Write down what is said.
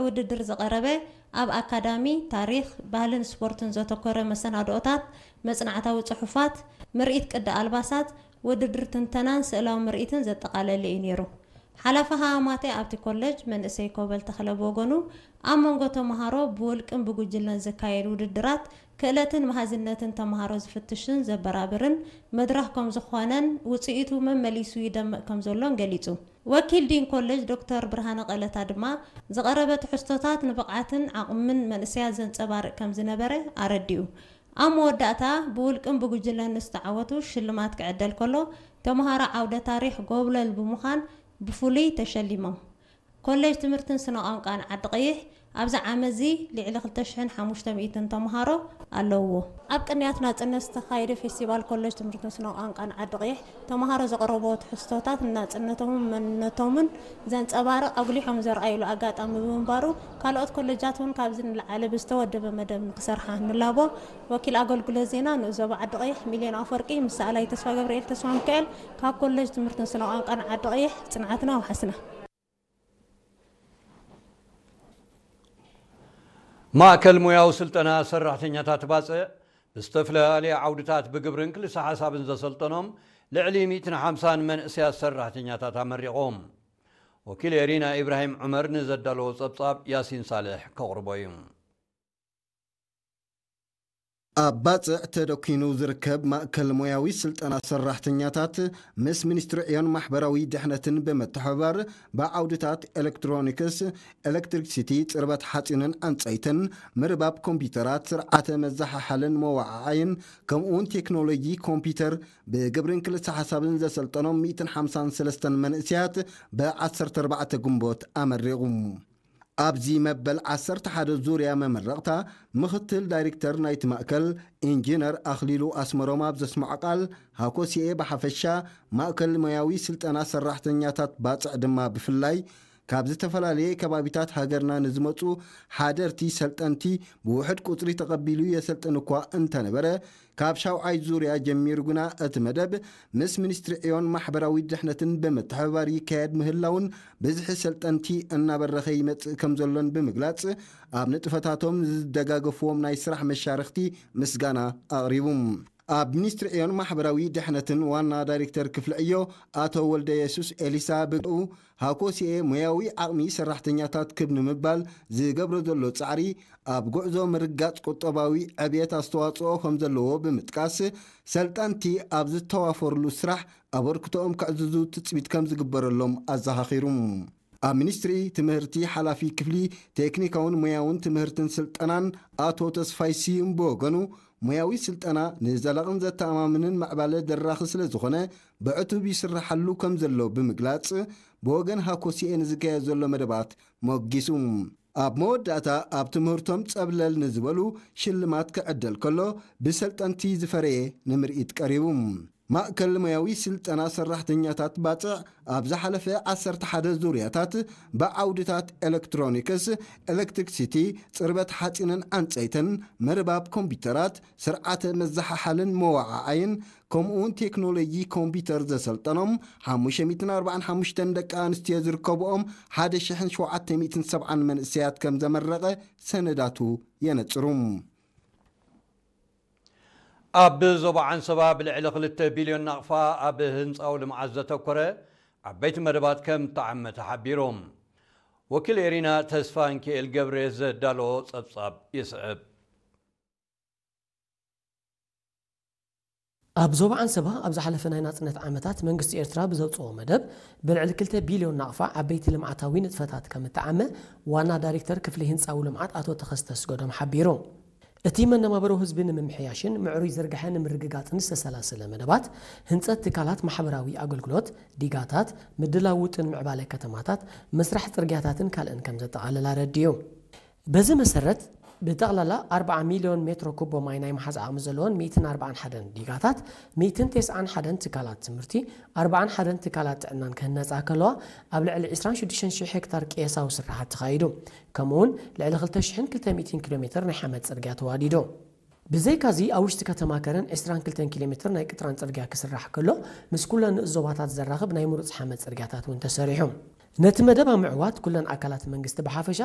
ውድድር ዝቐረበ ኣብ ኣካዳሚ፣ ታሪኽ፣ ባህልን ስፖርትን ዘተኮረ መሰናድኦታት፣ መጽናዕታዊ ጽሑፋት፣ ምርኢት ቅዲ ኣልባሳት፣ ውድድር ትንተናን ስእላዊ ምርኢትን ዘጠቓለለ እዩ ነይሩ። ሓላፊ ሃማማቴ ኣብቲ ኮለጅ መንእሰይ ኮበል ተኽለ ብወገኑ፣ ኣብ መንጎ ተምሃሮ ብውልቅን ብጉጅለን ዝካየድ ውድድራት ክእለትን መሃዝነትን ተምሃሮ ዝፍትሽን ዘበራብርን መድረኽ ከም ዝኾነን ውጽኢቱ መመሊሱ ይደምቕ ከም ዘሎን ገሊጹ። ወኪል ዲን ኮሌጅ ዶክተር ብርሃነ ቀለታ ድማ ዝቐረበ ትሕዝቶታት ንብቕዓትን ዓቕምን መንእሰያት ዘንጸባርቕ ከም ዝነበረ ኣረዲኡ። ኣብ መወዳእታ ብውልቅን ብጉጅለን ንዝተዓወቱ ሽልማት ክዕደል ከሎ፣ ተምሃሮ ዓውደ ታሪኽ ጎብለል ብምዃን ብፍሉይ ተሸሊሞም። ኮሌጅ ትምህርትን ስነ ቋንቋን ዓዲ ቀይሕ ኣብዚ ዓመት እዚ ልዕሊ ክልተ ሽሕን ሓሙሽተ ሚእትን ተምሃሮ ኣለውዎ። ኣብ ቅንያት ናጽነት ዝተኻየደ ፌስቲቫል ኮሌጅ ትምህርትን ስነ ቋንቋን ዓዲ ቀይሕ ተምሃሮ ዘቕረብዎ ትሕዝቶታት ንናጽነቶምን መንነቶምን ዘንጸባርቕ ኣጉሊሖም ዘርኣይሉ ኣጋጣሚ ብምንባሩ፣ ካልኦት ኮሌጃት እውን ካብዚ ንላዕሊ ብዝተወደበ መደብ ንክሰርሓ ንላቦ። ወኪል ኣገልግሎት ዜና ንኡስ ዞባ ዓዲ ቀይሕ ሚልዮን ኣፈወርቂ ምስ ሰኣላይ ተስፋ ገብርኤል ተስፋ ሚካኤል ካብ ኮሌጅ ትምህርትን ስነ ቋንቋን ዓዲ ቀይሕ ጽንዓትና ኣውሓስና። ማእከል ሞያዊ ስልጠና ሰራሕተኛታት ባጽዕ ብዝተፈላለየ ዓውድታት ብግብርን ክልሰ ሓሳብን ዘሰልጠኖም ልዕሊ ሚእትን ሓምሳን መንእሰያት ሰራሕተኛታት ኣመሪቖም። ወኪል ኤሪና ኢብራሂም ዑመር ንዘዳለዎ ጸብጻብ ያሲን ሳልሕ ከቕርቦ እዩ። ኣብ ባጽዕ ተደኪኑ ዝርከብ ማእከል ሞያዊ ስልጠና ሰራሕተኛታት ምስ ሚኒስትሪ ዕዮን ማሕበራዊ ድሕነትን ብምትሕብባር ብዓውድታት ኤሌክትሮኒክስ፣ ኤሌክትሪክሲቲ፣ ጽርበት ሓጺንን ዕንጸይትን፣ ምርባብ ኮምፒተራት፣ ስርዓተ መዘሓሓልን መወዓዓይን ከምኡውን ቴክኖሎጂ ኮምፒተር ብግብርን ክልሰ ሓሳብን ዘሰልጠኖም ሚእትን ሓምሳን ሰለስተን መንእሰያት ብ ዓሰርተ ኣርባዕተ ግንቦት ኣመሪቑ። ኣብዚ መበል ዓሰርተ ሓደ ዙርያ መመረቕታ ምኽትል ዳይሬክተር ናይቲ ማእከል ኢንጂነር ኣኽሊሉ ኣስመሮም ኣብ ዘስምዖ ቃል፣ ሃኮሲኤ ብሓፈሻ ማእከል ሞያዊ ስልጠና ሰራሕተኛታት ባጽዕ ድማ ብፍላይ ካብ ዝተፈላለየ ከባቢታት ሃገርና ንዝመጹ ሓደርቲ ሰልጠንቲ ብውሑድ ቁጽሪ ተቐቢሉ የሰልጥን እኳ እንተነበረ፣ ካብ ሻውዓይ ዙርያ ጀሚሩ ግና እቲ መደብ ምስ ሚኒስትሪ ዕዮን ማሕበራዊ ድሕነትን ብምትሕብባር ይካየድ ምህላውን ብዝሒ ሰልጠንቲ እናበረኸ ይመጽእ ከም ዘሎን ብምግላጽ፣ ኣብ ንጥፈታቶም ንዝደጋገፍዎም ናይ ስራሕ መሻርኽቲ ምስጋና ኣቕሪቡ። ኣብ ሚኒስትሪ ዕዮን ማሕበራዊ ድሕነትን ዋና ዳይሬክተር ክፍሊ ዕዮ ኣቶ ወልደ የሱስ ኤሊሳ ብኡ ሃኮሲኤ ሞያዊ ዓቕሚ ሰራሕተኛታት ክብ ንምባል ዝገብሮ ዘሎ ጻዕሪ ኣብ ጉዕዞ ምርጋጽ ቁጠባዊ ዕብየት ኣስተዋጽኦ ከም ዘለዎ ብምጥቃስ፣ ሰልጠንቲ ኣብ ዝተዋፈርሉ ስራሕ ኣበርክቶኦም ከዕዝዙ ትጽቢት ከም ዝግበረሎም ኣዘኻኺሩ። ኣብ ሚኒስትሪ ትምህርቲ ሓላፊ ክፍሊ ቴክኒካውን ሞያውን ትምህርትን ስልጠናን ኣቶ ተስፋይ ስዩም ብወገኑ፣ ሞያዊ ስልጠና ንዘላቕን ዘተኣማምንን ምዕባለ ደራኺ ስለ ዝኾነ ብዕቱብ ይስርሓሉ ከም ዘሎ ብምግላጽ፣ ብወገን ሃኮሲኤ ንዝካየድ ዘሎ መደባት ሞጊሱ። ኣብ መወዳእታ ኣብ ትምህርቶም ጸብለል ንዝበሉ ሽልማት ክዕደል ከሎ፣ ብሰልጠንቲ ዝፈረየ ንምርኢት ቀሪቡ። ማእከል ሞያዊ ስልጠና ሰራሕተኛታት ባጽዕ ኣብ ዝሓለፈ ዓሰርተ ሓደ ዙርያታት ብዓውድታት ኤሌክትሮኒክስ፣ ኤሌክትሪክሲቲ፣ ጽርበት ሓጺንን ዕንጸይትን፣ ምርባብ ኮምፒተራት፣ ስርዓተ መዘሓሓልን መወዓዓይን፣ ከምኡውን ቴክኖሎጂ ኮምፒተር ዘሰልጠኖም ሓሙሽተ ሚእትን ኣርባዓን ሓሙሽተን ደቂ ኣንስትዮ ዝርከብኦም ሓደ ሽሕን ሸውዓተ ሚእትን ሰብዓን መንእሰያት ከም ዘመረቐ ሰነዳቱ የነጽሩ። ኣብ ዞባ ዓንሰባ ብልዕሊ ክልተ ቢልዮን ናቕፋ ኣብ ህንፃዊ ልምዓት ዘተኮረ ዓበይቲ መደባት ከም ተዓመ ተሓቢሩ። ወኪል ኤሪና ተስፋንኪኤል ገብረ ዘዳለዎ ጸብጻብ ይስዕብ። ኣብ ዞባ ዓንሰባ ኣብ ዝሓለፈ ናይ ናጽነት ዓመታት መንግስቲ ኤርትራ ብዘውጽኦ መደብ ብልዕሊ ክልተ ቢልዮን ናቕፋ ዓበይቲ ልምዓታዊ ንጥፈታት ከም እተዓመ ዋና ዳይሬክተር ክፍሊ ህንጻዊ ልምዓት ኣቶ ተኸስተ ኣስገዶም ሓቢሩ። እቲ መነባብሮ ህዝቢ ንምምሕያሽን ምዕሩይ ዝርግሐ ንምርግጋጽን ዝተሰላሰለ መደባት ህንጸት ትካላት ማሕበራዊ ኣገልግሎት፣ ዲጋታት፣ ምድላው ውጥን ምዕባለ ከተማታት፣ ምስራሕ ጽርግያታትን ካልእን ከም ዘጠቓልል ኣረዲኡ። በዚ መሰረት ብጠቕላላ ኣርባዓ ሚልዮን ሜትሮ ኩቦ ማይ ናይ ምሓዝ ዓቕሚ ዘለወን ሚእትን ኣርባዓን ሓደን ዲጋታት፣ ሚእትን ተስዓን ሓደን ትካላት ትምህርቲ፣ ኣርባዓን ሓደን ትካላት ጥዕናን ክህነጻ ከለዋ፣ ኣብ ልዕሊ ዕስራን ሽዱሽተን ሽሕ ሄክታር ቅየሳዊ ስራሓት ተኻይዱ። ከምኡውን ልዕሊ ክልተ ሽሕን ክልተ ሚእትን ኪሎ ሜትር ናይ ሓመድ ጽርግያ ተዋዲዱ። ብዘይካዚ ኣብ ውሽጢ ከተማ ከረን ዕስራን ክልተን ኪሎ ሜትር ናይ ቅጥራን ጽርግያ ክስራሕ ከሎ፣ ምስ ኩለን ንኡስ ዞባታት ዘራኽብ ናይ ምሩጽ ሓመድ ጽርግያታት እውን ተሰሪሑ። ነቲ መደብ ኣብ ምዕዋት ኩለን ኣካላት መንግስቲ ብሓፈሻ